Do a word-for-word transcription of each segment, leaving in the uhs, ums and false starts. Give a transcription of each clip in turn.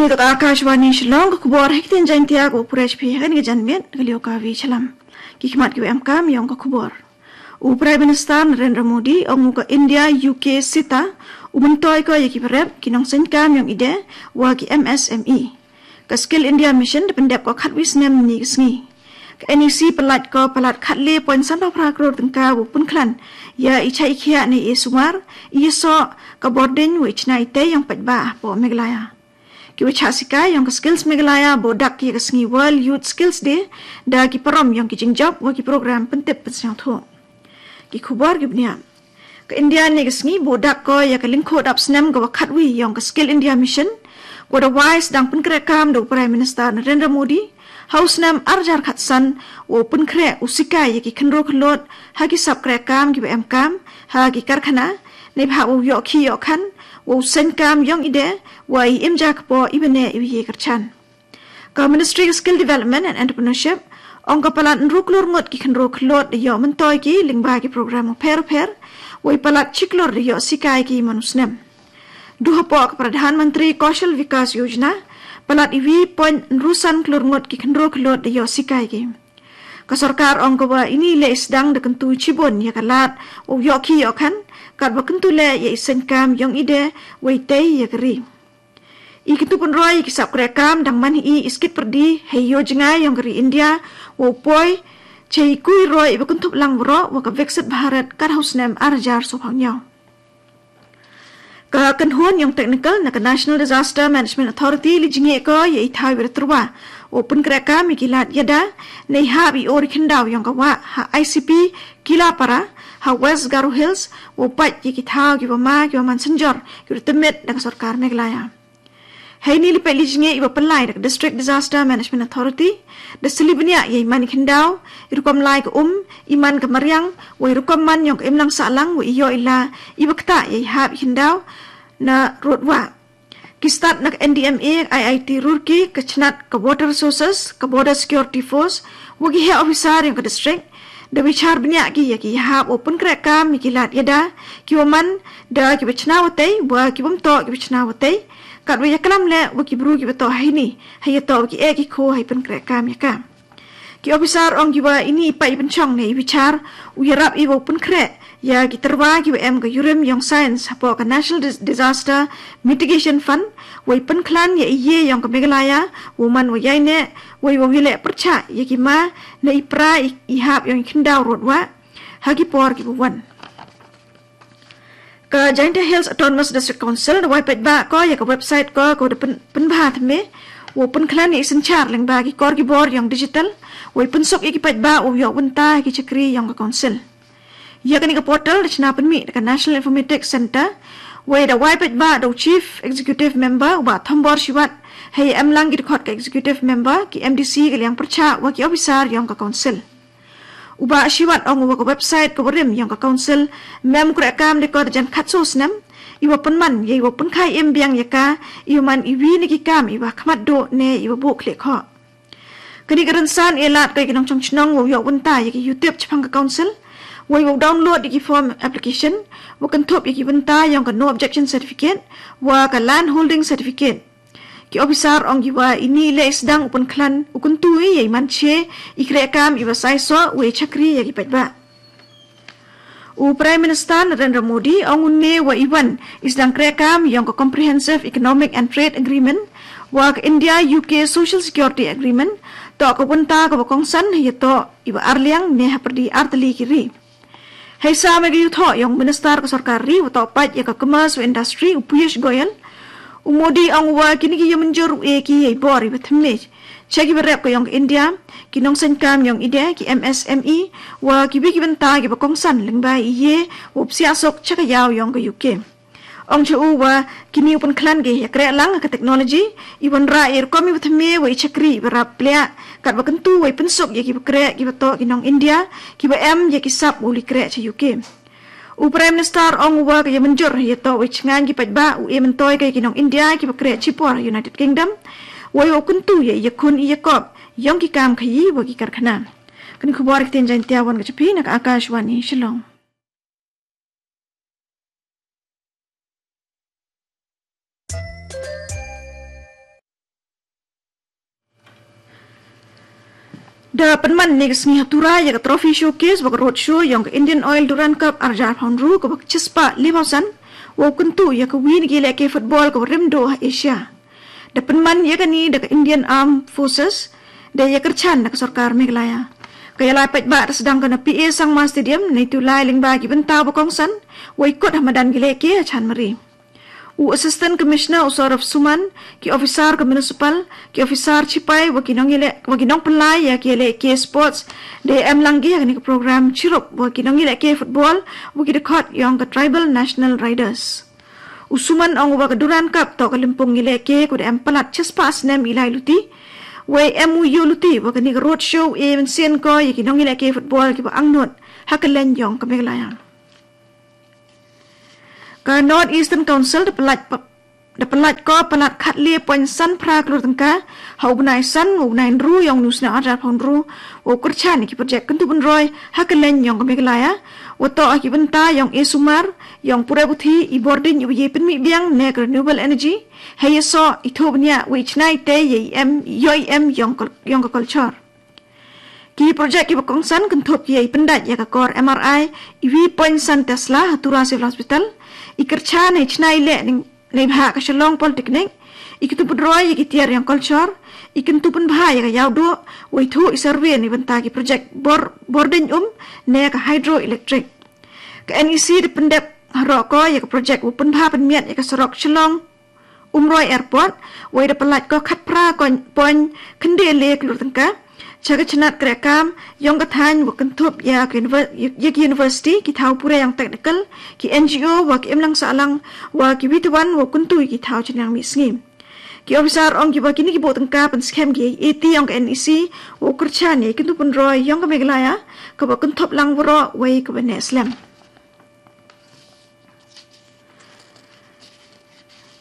Ito ka Akashvani Shillong, ka khubor ha ktien Jaiñtia, ka u pyrshah phi ha kane ka janmiet, ka liu ka Vi Chalam. Ki khmat ki wa em kam yong ka khubor. U Prime Minister Narendra Modi ong u ka India U K SITA u myntoi ko ya ki brep, ki nongseng kam yong ide, wa ki M S M E. Ka Skill India Mission da pyndep ko khatwi snem ni ka sngi. Ka N E C palat ko palat khatle point san phra kror tyngka wa pynkhlan ya i chai i khiah ne i sumar, i soh, ka bording wa i chna i tei yong paidbah hapoh Meghalaya. Ki wa chah sikai yong ka Skills Meghalaya bo dak ki ka sngi World Youth Skills Day da ki parom yong ki jingjop wa ki program pyntip pynsngewthuh. Ki khubor ki bniah. Ka India ne ka sngi bo dak ko ya ka lyngkhuh dap snem ka wa khatwi yong ka Skill India Mission, wa da wai sdang pynkreh kam da u Prime Minister Narendra Modi ha u snem arjar khatsan, wa u pynkreh u sikai ya ki khynro khyllood ha ki sap kreh kam ki wa em kam ha ki karkhana, ne bha wa u yoh khi yoh khan, wa u seng kam yong ide, wa i im ja kpo i bane i ye kyrchan. Ka Ministry ka Skill Development and Entrepreneurship ong ka palat ynru klur ngut ki khynro khyllood da yoh myntoi ki lyngba ki program u pher u pher, wa i palat chi klur da yoh sikai ki man u snem. Du hapoh ka Pradhan Mantri Kaushal Vikas Yojana, palat i wi point ynru san klur ngut ki khynro khyllood da yoh sikai ki. Ka sorkar ong ka wa ini le i sdang da kyntu chibun ya ka lad wa u yoh khi yoh khan, kat wa kyntu le ya i seng kam yong ide wa i tei ya ka ri. I kyntu pynroi ki sap kreh kam dang man hi i skit pyrdi hei yo jngai yong ka ri India, wa u poi chei kui roi i wa kynthup lang wro wa ka Viksit Bharat kat ha u snem arjar so phang nyaw. Ka kynhun yong technical na ka National Disaster Management Authority li jngai ko ya i thaw i wa da tyrwa wa pynkreh kam i ki lad yada, ne i hap i ori khyndaw yong ka wa ha I C P Kilapara, ha West Garo Hills, wa u pait ya ki thaw ki wa ma ki wa man synjor ki wa da tymit da ka sorkar Meghalaya. Hei ni li peit li jngai i wa pynlai da ka District Disaster Management Authority, da sili bniah ya i man i khyndaw, i rukom lai ka um, i man ka mariang, wa i rukom man yong ka imlang sahlang, wa i yoh i la, i wa ktah ya i hap i khyndaw na rud wa. Ki stad na ka N D M A, I I T Roorkee, ka chnat ka Water Resources, ka Border Security Force, wa ki heh officer yong ka district, da bichar bniah ki ya ki hap wa pynkreh kam ya ki lad yada, ki wa man, da ki wa chna wa tei, wa ki wa mtoh ki wa chna wa tei, kat wa ya klam le, wa ki bru ki wa toh hei ni, hei ya toh wa ki eh ki kho hei pynkreh kam ya ka. Ki officer ong ki wa ini i pait i pynchong ne i bichar, u yarap i wa u pynkreh ya ki tyrwa ki wa em ka yurim yong science hapoh ka National Dis-, Disaster Mitigation Fund, wa i pynkhlan ya i ye yong ka Meghalaya, wa man wa yai ne, wa i wa wile pyrchah ya ki ma, ne i pra i, i hap yong i khyndaw rud wa, ha ki por ki wa wan. Ka Jaintia Hills Autonomous District Council da wai paidbah ko ya ka website ko ko da pyn-, pynbha thymme, wa pynkhlan ya i synchar lyngba ki kor ki bor yong digital, wa i pynsuk ya ki paidbah wa yoh bynta ki chakri yong ka council. Ya kani ka portal da chna pynmih da ka National Informatics Centre, wa i da wai paidbah da u Chief Executive Member u Bah Thombor Shiwat, hei em lang ki dkhot ka Executive Member, ki M D C ka liang pyrchah wa ki officer yong ka council. U Bah Shiwat ong wa ka website ka wa rim yong ka council, mem kreh kam de ko da jan khatso snem, i wa pynman, ya i wa pynkhai im biang ya ka, i wa man i wi ne ki kam, i wa khmat do ne, i wa buh khlieh khoh. Kani ka rynsan e lad ka ki nongchong chnong wa yoh bynta ya ki yutip chapang ka council, wa i wa download ya ki form application, wa kynthup ya ki bynta yong ka no objection certificate, wa ka land holding certificate. Ki officer ong ki wa ini le i sdang u pynkhlan u kyntu i ya i man che i kreh kam i wa sai soh wa i chakri ya ki paidbah. U Prime Minister Narendra Modi ong une wa i wan i sdang kreh kam yong ka Comprehensive Economic and Trade Agreement wa ka India U K Social Security Agreement, toh ka bynta ka wa kongsan ya toh i wa arliang ne ha pyrdi artylli ki ri. Hei sa me ka yuthoh yong Minister ka sorkar ri wa toh pait ya ka Commerce wa Industry u Piyush Goyal, u Modi ong wa kini ki ya mynjur u e ki ya i bor i wa thymme cha ki wa rep ka yong ka India, ki nongseng kam yong ide, ki M S M E, wa ki wi ki bynta ki wa kongsan lyngba i ye wa psiah sok cha ka yaw yong ka U K. Ong cha u wa kini u pynkhlan ki ya kreh lang ka technology, i wanrah i rukom i wa thymme wa i chakri i wa rap pliah, kat wa kyntu wa i pynsuk ya ki wa kreh ki wa toh ki nong India, ki wa em ya ki sap wa u li kreh cha U K. U Prime Minister ong wa ka ya mynjur ya toh wa i chngaiñ ki paidbah u e myntoi ka ya ki nong India ki wa kreh chipor United Kingdom, wa i wa kyntu ya i ya khun i ya kop yong ki kam khayi wa ki karkhana. Kani khubor ktien Jaintia wan ka cha phi na ka Akashvani Shillong. Da pynman ïa ka sngi ha Tura ïa ka Trophy Showcase wa ka Roadshow yong ka Indian Oil Durand Cup arjar phawn ru ka wa ka chispah li phawn san, wa u kyntu ïa ka wi na ki lehke football ka wa rim duh ha Asia. Da pynman ïa kani da ka Indian Armed Forces, da ïa kyrchan na ka sorkar Meghalaya. Ka ïa lai paidbah da sdang ka na P A Sangma Stadium, na itu lai lyngba ki bynta wa kongsan, wa i kut ha madan ki lehke ha Chanmari. U Assistant Commissioner u Saurabh Suman, ki officer ka municipal, ki officer chipai wa ki nong ïaleh, wa ki nong pynlai ïa ki ïalehke sports, da em lang ki ha kani ka program chirup wa ki nong ïalehke football, wa ki dkhot yong ka Tribal National Riders. U Suman ong wa ka Durand Cup toh ka lympung ïalehke ka wa da em palat chispah snem i lai luti. Wa em u ïoh luti wa kani ka roadshow e mynsiem ko ïa ki nong ïalehke football ki wa angnud ha ka leng yong ka Meghalaya. Ka North Eastern Council da palat pa-, da palat ko palat khatle point san phra klur tyngka ha u bnai san, u bnai ru yong u snem arjar phawn ru, wa u kyrchan ïa ki project kyntu pynroi ha ka leng yong ka Meghalaya, wa toh ha ki bynta yong e sumar, yong pure puthi, i bording i wa ïa pynmih biang ne ka renewable energy, ha ïa so i thoh bniah wa i chna i te ïa i em, ïoh i em yong ka, yong ka culture. Ki project ki wa kongsan kynthup ki ïa i pyndait ïa ka kor M R I, i wi point san Tesla ha Tura Civil Hospital, i kyrchan i chna i leh ning, neibhah ka Shillong Polytechnic, i kyntu pynroi ïa ki tiar yong culture, i kyntu pynbha ïa ka ïawduh, wa i thoh i survey na bynta ki project bor, bording um, ne ka hydroelectric. Ka N E C da pyndep haroh ko ïa ka project wa pynbha pynmiat ïa ka surok Shillong Umroi Airport, wa i da palat ko khatphra point khyndai le klur tyngka. Cha ka chnat kreh kam yong ka thaiñ wa kynthup ïa ka univer-, ïa, ïa ka university, ki thaw pure yong technical, ki N G O, wa ki imlang sahlang, wa ki wi twan, wa kyntu ïa ki thaw chynrang mih sngi. Ki officer ong ki wa kini ki buh tyngka pynskhem ki ïa i ti yong ka N E C, wa u kyrchan ïa i kyntu pynroi yong ka Meghalaya, ka wa kynthup lang waroh, wa i ka wa neh slem.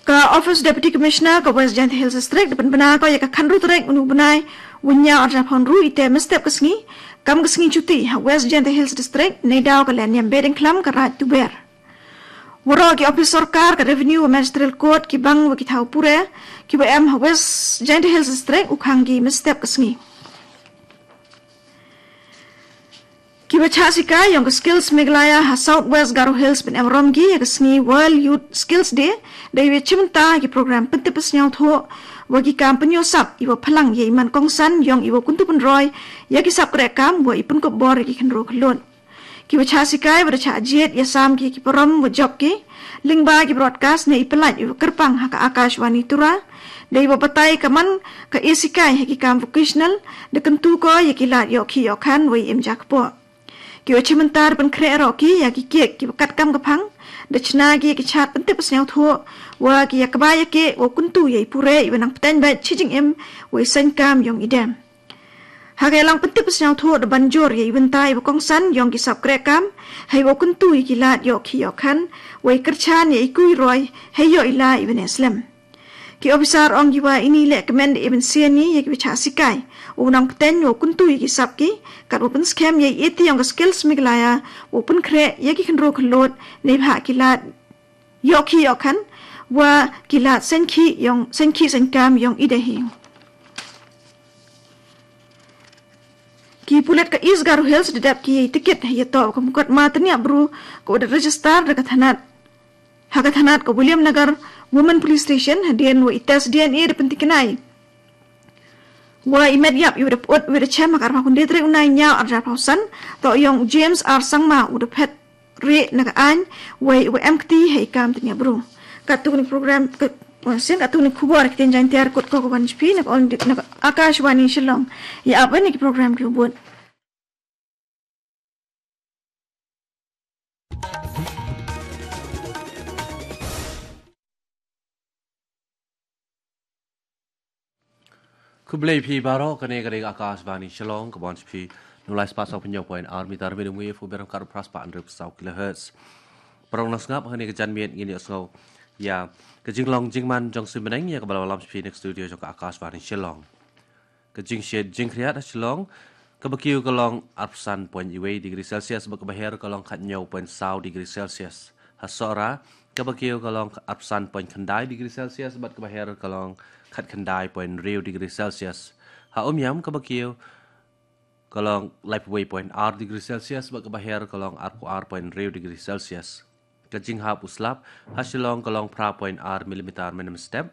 Ka Office Deputy Commissioner ka West Jaintia Hills District da pynbna ko ïa ka khatynru tarik uni u bnai, wa ynñiaw arjar phawn ru i te mynstep ka sngi, kam ka sngi chuti ha West Jaintia Hills District, neidaw ka lehniam Bediengkhlam ka Raid Tuber. Waroh ki office sorkar ka Revenue wa Magisterial Court ki bang wa ki thaw pure, ki wa em ha West Jaintia Hills District u khang ki mynstep ka sngi. Ki wa chah sikai yong ka Skills Meghalaya ha South West Garo Hills pynemrom ki ïa ka sngi World Youth Skills Day, da i wa chim bynta ki program pyntip pynsñiawthuh, wa ki kam pynïoh sap, i wa phalang ïa i man kongsan yong i wa kyntu pynroi ïa ki sap kreh kam, wa i pynkup bor ïa ki khynroo khyllood. Ki wa chah sikai wa da chah jied ïa sam ki, ki parom wa jop ki, lyngba ki broadcast ne i pyllait i wa kyrpang ha ka Akashvani Tura, da i wa batai ka man ka e sikai ha ki kam vocational, da kyntu ko ïa ki lad ïoh khih ïoh khan wa i im ja kpoh. Ki wa chim bynta da pynkhreh roh ki ïa ki kiek ki wa katkam ka phang, da chna ki ïa ki chart pyntip pynsñiawthuh, wa ki ïa kba ïa ki wa kyntu ïa i pure i wa nang pteng bad chi jingim, wa i seng kam yong i dem. Ha ka ïalang pyntip pynsñiawthuh da ban jur ïa i bynta i wa kongsan yong ki sap kreh kam, ha i wa kyntu ïa ki lad ïoh khih ïoh khan, wa i kyrchan ïa i kui roi, ha i ïoh i la i wa neh slem. Ki officer ong ki wa ini leh kmen da i mynsiem ni ïa ki wa chah sikai, u nang pteng wa kyntu ïa ki sap ki, kat wa pynskhem ïa i e ti yong ka Skills Meghalaya, wa pynkhreh ïa ki khynroo khyllood, neibhah ki lad ïoh khih ïoh khan, wa ki lad seng khih yong, seng khih seng kam yong i da hi. Ki pulit ka East Garo Hills da dep ki ïa i tikit ha ïa toh ka mukotduma tyniap bru ka wa da register da ka thanat, ha ka thanat ka Williamnagar Women Police Station, hadien wa i test D N A da pyntikna i wa i met ïap i wa da pyut wa da chem ha ka arphew khyndai tarik u nai ynñiaw arjar phew san, toh yong u James R Sangma u da phet rieh na ka aiñ, wa i wa em kti ha i kam tyniap bru. Katto katne program, ka, wa sien katto katne khubor ha ktien Jaiñtia kut ko ka wan sha phi na ka All India, na ka Akashvani Shillong. Ïa ap wan ïa ki program ki wa bud. Khublei phi baroh, kane ka dei ka Akashvani Shillong, ka wan sha phi na u lai spah saw phew point ar meter medium wave, u byrngkat phra spah hynriew saw kilohertz. Para nong sngap, ha kane ka janmiet ngin ïa sngew ïa ka jinglong jingman jong u Seng Bneng, ïa kaba la wan lam sha phi na ka studio jong ka Akashvani Shillong. Ka jingshit jingkhriat ha Shillong, kaba kiew ka long arphew san point wei degree Celsius, bad kaba her ka long khathynñiew point saw degree Celsius. Ha Sohra, kaba kiew ka long arphew san point khyndai degree Celsius, bad kaba her ka long khatkhyndai point hynriew degree Celsius. Ha Umiam, kaba kiew ka long laiphew wei point ar degree Celsius, bad kaba her ka long arphew ar point hynriew degree Celsius. Ka jinghap u slap ha Shillong ka long phra point ar millimeter mynne mynstep.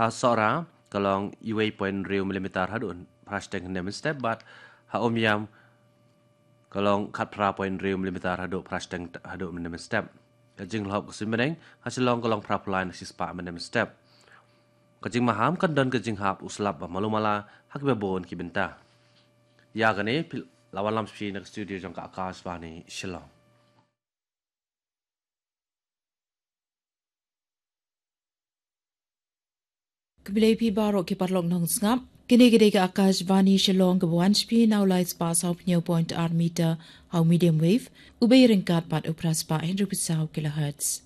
Ha Sohra ka long uwei point hynriew millimeter haduh phra shiteng hynne mynstep, bad ha Umiam ka long khatphra point hynriew millimeter haduh phra shiteng haduh mynne mynstep. Ka jinglhok ka suiñ bneng ha Shillong ka long phraphew lai na shispah mynne mynstep. Ka jingmaham kan don ka jinghap u slap ba malu mala ha kiba bun ki bynta. Ïa kane phi la wanlam sha phi na ka studio jong ka Akashvani Shillong. Khublei phi baroh ki paralok nongsngap. Kane ka dei ka Akashvani Shillong kaba wan sha phi na u lai spah sawphew point ar meter ha u medium wave, u bei ryngkat bad u phra spah hynriewphew saw kilohertz.